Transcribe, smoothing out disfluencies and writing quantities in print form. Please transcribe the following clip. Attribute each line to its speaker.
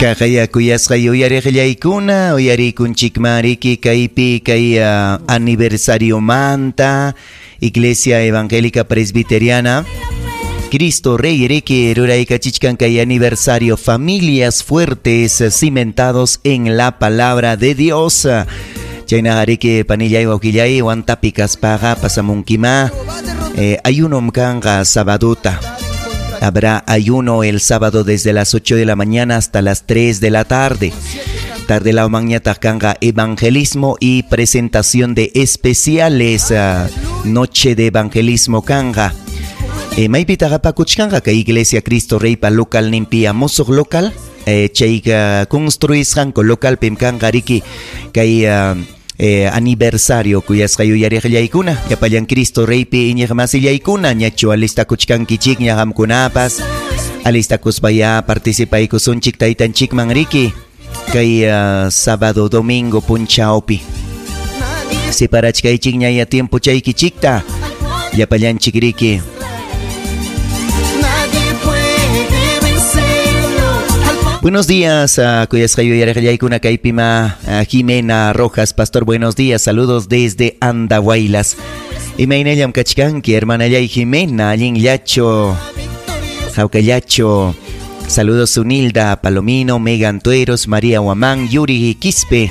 Speaker 1: Kaqaya kuyasqa yuyariqllaykuna uyarikunchikman riki kaypi kay aniversariomanta Iglesia Evangélica Presbiteriana Cristo Rey riki ruraykachichkan kay aniversario familias fuertes cimentados en la palabra de Dios. Chaynaqa riki panillay wawqillay Huantapi kaspaqa pasamunkima ayunom kanqa sabaduta. Habrá ayuno el sábado desde las 8 de la mañana hasta las 3 de la tarde. Tarde la mañana kanqa evangelismo y presentación de especiales. Noche de evangelismo kanqa. Maypitaq apakuchkanqa kay Iglesia Cristo Reypa local ninpi musuq local chayqa construisqanku localpim kanqa riki kay aniversario kuyasqa yuyariqllaykuna llapallan Cristo Reypi iñiqmasillaykuna ñachu alistakuchkankichikña qamkunapas alistakuspaya participaykusunchik taytanchikman riki kay sábado domingo punchawpi separachkaychikña ya tiempo chaykichikta llapallanchik riki. Buenos días, kuyasqa yuyariqllaykuna kaypima Jimena Rojas, pastor, buenos días, saludos desde Andahuaylas. Imaynallam kachkanki, hermanallay Jimena, allinllacho, hawkallacho. Saludos Unilda Palomino, Megan Tueros, María Huamán, Yuri Quispe.